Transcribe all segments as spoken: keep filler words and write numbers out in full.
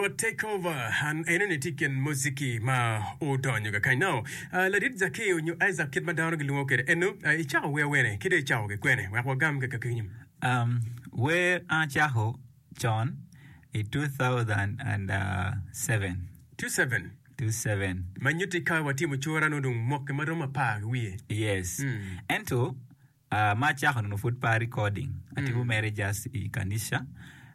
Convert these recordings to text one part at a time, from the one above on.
Rwot take over an enoni tye i kin muziki ma odonyo kakany. Now, uh, ladit Zakeo nyo Isaac kit ma dano gilwongo kwede eno, uh, icako wer wene ki dong icako ki kwene wek wagam ki kakenyo. Um, wer an acako con i two thousand and seven. Two seven. Two seven. Ma nyutti ka watimo cura nongo dong mwaki ma romo apar ki wiye. Yes. Mm. Ento uh, ma acako nongo pud pe a recording. Atimo mere just i kanica.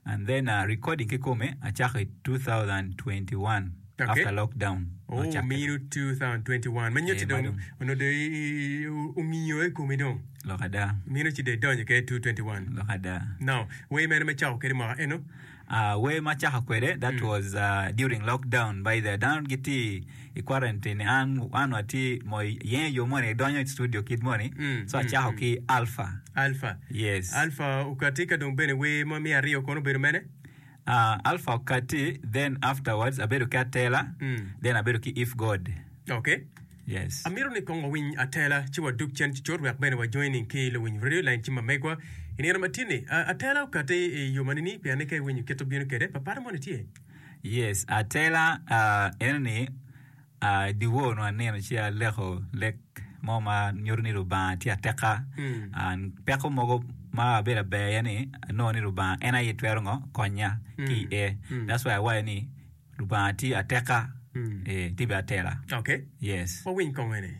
And then uh, recording kikome acako i two thousand twenty one Okay. after lockdown. Oh, Ocakke. mino two thousand twenty one. Ma nyutti Eh, dong ma dong. onongo dong i- i- i- ongiyo i komi dong. Lok ada. Mino ci dong idonyo ke two twenty one. Lok ada. Now, wer mene ma icako kwede mwaka eno? Uh, wer ma acako kwede, that was uh, during lockdown by the dano gitye i quarantine, an, an watye mo yenyo yo moni idonyo i studio kit moni, Mm, so mm, acako mm. ki Alpha. Alpha. Yes. Alpha okati ka dong bene wer ma me aryo kono obedo mene? Uh, Alpha okati, then afterwards abedo ki Atela, Mm. then abedo ki If God. Okay. Yes. Amito ni kong wawiny Atela ci wadug cen cucut wek bene wa joining ki luwiny radio line ci ma megwa i nino ma tye ni. Uh, Atela okati i yo ma nini pien ni ka iwinyo kit obino kwede papara moni tye? Yes, Atela uh, eno ni uh, dyewor onongo anino ci aleko lek mo ma nyuto ni Lubanga tye ateka. Mm. Uh, peko mogo ma abedo aber iye ni anongo ni Lubanga en aye twero ngo konya ki Mm. iye. Mm. That's why awaco ni Lubanga tye ateka, Mm. eh, tye bene atela. Okay. Yes. Wawiny kong eni.